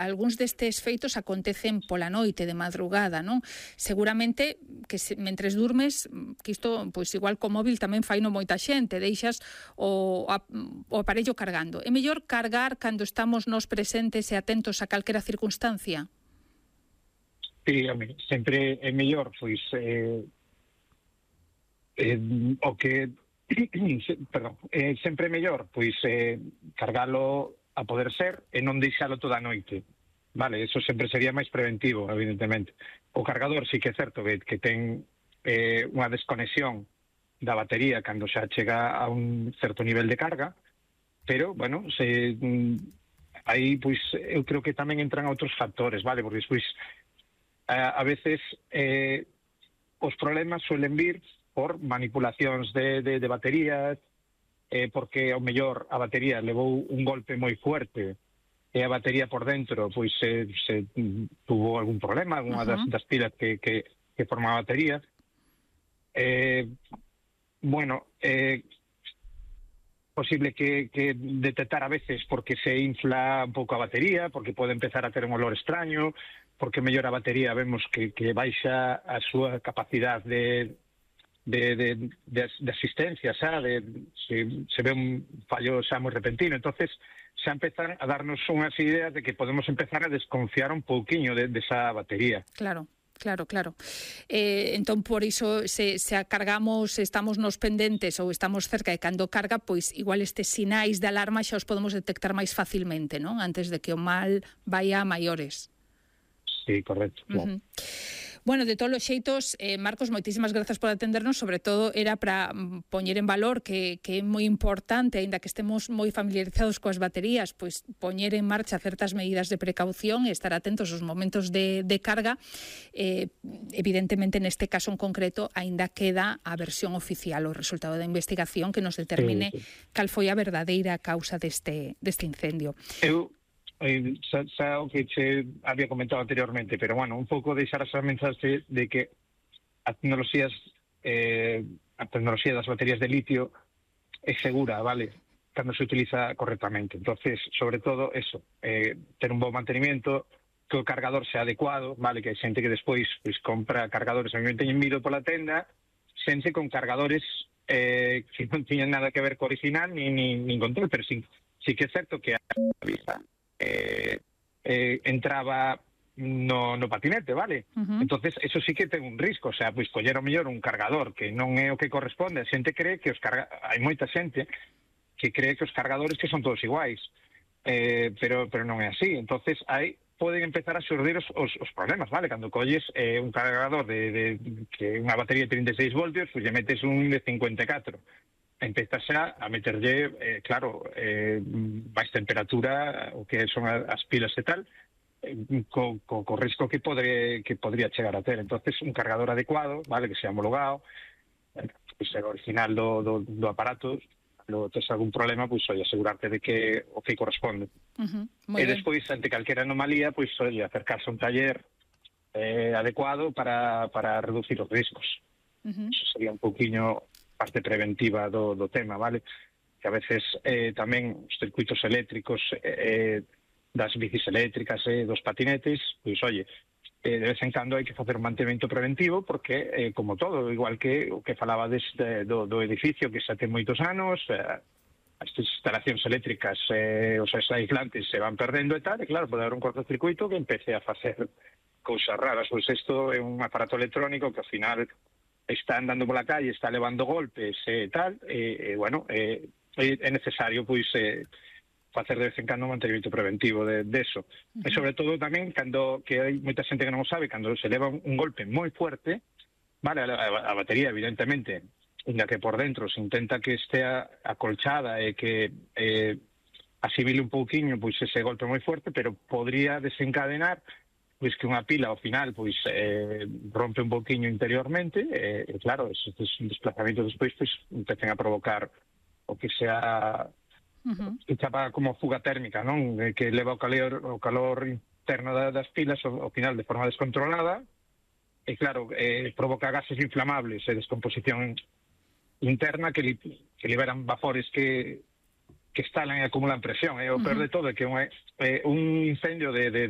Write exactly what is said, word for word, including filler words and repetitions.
algúns destes feitos acontecen pola noite, de madrugada, non? Seguramente que se, mentres durmes, que isto, pois igual co móvil tamén faino moita xente, deixas o, a, o aparello cargando. É mellor cargar cando estamos nos presentes e atentos a calquera circunstancia? Sí, home, sempre é mellor, pois, eh, eh, o que, perdón, eh, sempre é mellor, pois, eh, cargalo a poder ser e non deixalo toda a noite. Vale, eso sempre sería máis preventivo, evidentemente. O cargador sí que é certo que, que ten eh, unha desconexión da batería cando xa chega a un certo nivel de carga, pero, bueno, se, mm, aí, pois, eu creo que tamén entran outros factores, vale, porque, pois, a, a veces eh, os problemas suelen vir por manipulacións de, de, de baterías, eh, porque ao mellor a batería levou un golpe moi fuerte e a batería por dentro pois se, se tuvo algún problema, alguna das, das pilas que, que, que forma a batería. Eh, bueno, eh, posible que, que detectar a veces porque se infla un pouco a batería, porque pode empezar a ter un olor extraño, porque mellor a batería vemos que, que baixa a súa capacidade de De, de, de, de asistencia, xa, de, se, se ve un fallo xa moi repentino, entonces xa empezan a darnos unhas ideas de que podemos empezar a desconfiar un pouquiño de, de esa batería. Claro. Claro, claro. Eh, entón, por iso, se, se a cargamos, estamos nos pendentes ou estamos cerca de cando carga, pois igual estes sinais de alarma xa os podemos detectar máis facilmente, non? Antes de que o mal vaya a maiores. Sí, correcto. Claro. Uh-huh. Bueno, de todos os xeitos, eh, Marcos, moitísimas grazas por atendernos, sobre todo era para poñer en valor que, que é moi importante, aínda que estemos moi familiarizados coas baterías, pois poñer en marcha certas medidas de precaución e estar atentos aos momentos de, de carga. Eh, evidentemente, neste caso en concreto, aínda queda a versión oficial, o resultado da investigación que nos determine sí, sí. cal foi a verdadeira causa deste, deste incendio. Eu Eh, xa, xa o que che había comentado anteriormente, pero bueno, un pouco deixar esa mensaxe de que a tecnoloxías eh, a tecnoloxía das baterías de litio é segura, vale, cando se utiliza correctamente. Entonces, sobre todo eso, eh, ter un bom mantenimiento, que o cargador sea adecuado, vale, que hai xente que despois pois, compra cargadores, a mí me teñen mido pola tenda, xente con cargadores eh, que non tiñan nada que ver co original ni, ni, ni con todo, pero sí, sí que é certo que a vista Eh, eh, entraba no, no patinete, vale? Uh-huh. Entonces, eso sí que ten un risco, o sea, pois coller o mellor un cargador que non é o que corresponde, a xente cree que os carga... hai moita xente que cree que os cargadores que son todos iguais, eh, pero, pero non é así, entonces aí poden empezar a xurdir os, os, os problemas, vale? Cando colles eh, un cargador de, de que unha batería de trinta e seis voltios, pois lle metes un de cincuenta e catro, empezas xa a meterlle, eh, claro, eh, máis temperatura, o que son as pilas e tal, eh, co, co, co risco que, podre, que podría chegar a ter. Entonces, un cargador adecuado, vale, que sea homologado, eh, pues, o original do, do, do aparato, lo tes algún problema, pois, pues, oi, asegurarte de que o que corresponde. Uh-huh. E despois, ante calquera anomalía, pois, pues, oi, acercarse a un taller eh, adecuado para, para reducir os riscos. Uh-huh. Eso sería un pouquiño parte preventiva do, do tema, vale? Que a veces eh, tamén os circuitos eléctricos eh, das bicis eléctricas e eh, dos patinetes, pois, oye, eh, de vez en cando hai que facer un mantemento preventivo porque, eh, como todo, igual que o que falaba deste, do, do edificio que xa ten moitos anos, eh, as instalacións eléctricas, eh, os aislantes se van perdendo e tal, e claro, pode haber un cortocircuito que empece a facer cousas raras, pois isto é un aparato electrónico que ao final está andando pola calle, está levando golpes e eh, tal, e eh, bueno, eh, é necesario pois eh, facer de vez en cando un mantenimento preventivo de, de eso. Uh-huh. E sobre todo tamén, cando que hai moita xente que non o sabe, cando se leva un golpe moi fuerte, vale, a, a, a batería, evidentemente, inda que por dentro se intenta que estea acolchada e que eh, asimile un pouquiño pois ese golpe moi fuerte, pero podría desencadenar pois que unha pila ao final pois eh, rompe un pouquiño interiormente e, eh, claro, esos desplazamentos despois pois empecen a provocar o que sea uh-huh. que chapa como fuga térmica, non? Que leva o calor, o calor interno das pilas ao, ao final de forma descontrolada e claro, eh, provoca gases inflamables e descomposición interna que, li, que liberan vapores que que estalan e acumulan presión. E o peor de todo é que un, é un incendio de, de, de